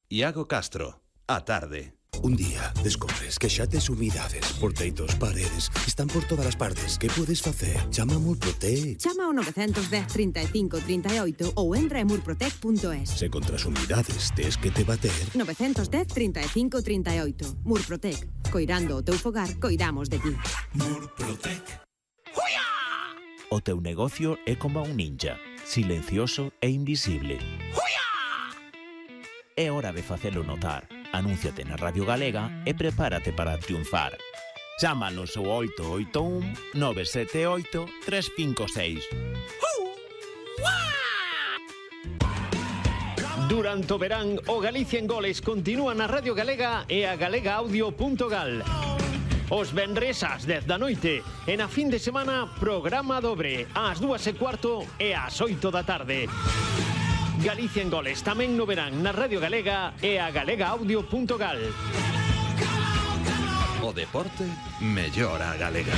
Iago Castro, a tarde. Un día descubres que xa tes humidades por teitos, paredes, están por todas as partes. Que podes facer? Chama a Murprotec. Chama ao 910 35 38 ou entra en murprotec.es. Se contra as humidades tes que te bater. 910 35 38. Murprotec. Coirando o teu fogar, coidamos de ti. Murprotec. O teu negocio é como un ninja, silencioso e invisible. É hora de facelo notar. Anúnciate na Radio Galega e prepárate para triunfar. Chámanos ao 881 978 356. Durante o verán, o Galicia en Goles continúa na Radio Galega e a galegaaudio.gal. Os venres ás 10 da noite e na fin de semana programa dobre ás 2:15 e ás 8 da tarde. Galicia en Goles tamén no verán na Radio Galega e a galegaaudio.gal. O deporte mellora a galega.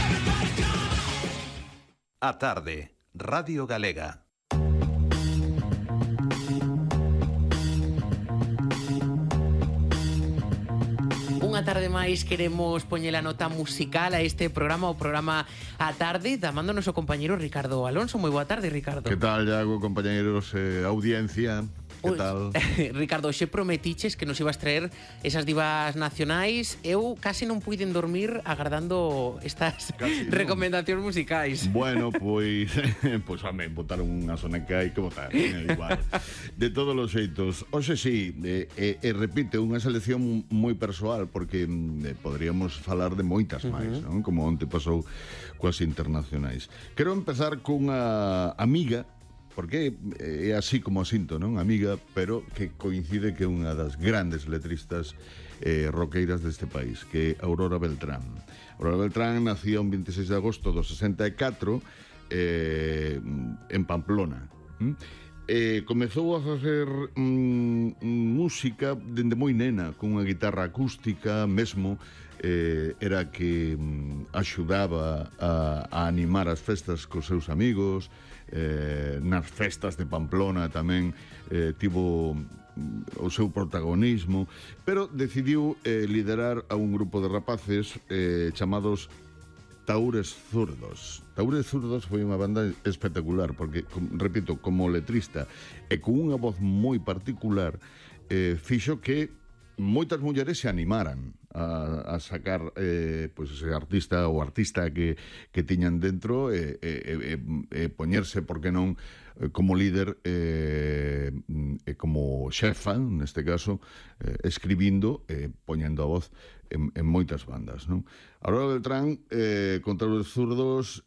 A tarde, Radio Galega. Unha tarde máis queremos poñer a nota musical a este programa, o programa A Tarde, damándonos o compañeiro Ricardo Alonso. Moi boa tarde, Ricardo. Que tal, Iago, compañeros, audiencia? Que tal? Ricardo, xe prometiches que nos ibas traer esas divas nacionais. Eu casi non puiden dormir agardando estas recomendacións musicais. Bueno, pois home, botaron unha soneca e que botar, igual. De todos os xeitos. Oxe, sí, repite, unha selección moi persoal, porque poderíamos falar de moitas máis, non? Como onte pasou coas internacionais. Quero empezar cunha amiga, porque é así como sinto, non? Amiga, pero que coincide que é unha das grandes letristas roqueiras deste país, que é Aurora Beltrán. Aurora Beltrán nació un 26 de agosto do 64 en Pamplona. Comezou a facer música dende moi nena, con unha guitarra acústica, mesmo era que axudaba a animar as festas cos seus amigos. Nas festas de Pamplona tamén tivo o seu protagonismo, pero decidiu liderar a un grupo de rapaces chamados Tahúres Zurdos. Tahúres Zurdos foi unha banda espectacular, porque, repito, como letrista e con unha voz moi particular, fixo que moitas mulleres se animaran a sacar pois ese artista ou artista que tiñan dentro e poñerse, por que non, como líder e como xefa, neste caso, escribindo e poñendo a voz en moitas bandas, non? Aurora Beltrán, contra os zurdos,